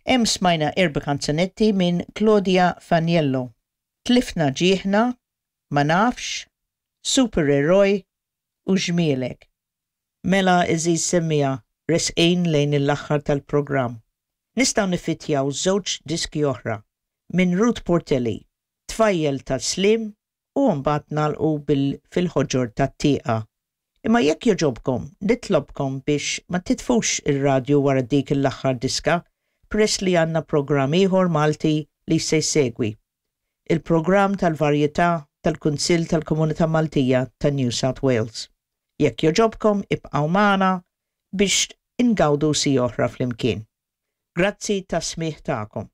Hemm smajna erba' kanzunetti minn Claudia Faniello, Tlifna Ġieħna, Ma Nafx, Super Eroj u Ġmielek. Mela għeżież semmiegħa, resqin lejn l-aħħar tal-programm. Nistgħu niffitjaw żewġ diski oħra, minn Ruth Portelli, Tfajjel tas-Sliem u mbagħad nagħlqu bil Fil-Ħoġor tat-Tieqa. Imma jekk jogħġobkom, nitlobkom biex ma titfux ir-radju wara dik l-aħħar diska peress li għandna programm ieħor Malti li se jsegwi. Il-programm tal-varjetà tal-Kunsill tal-Komunità Maltija ta' New South Wales. Jekk jogħġobkom ibqgħu magħna biex ingawdu siegħa oħra flimkien. Grazzi tas-smigħ tagħkom.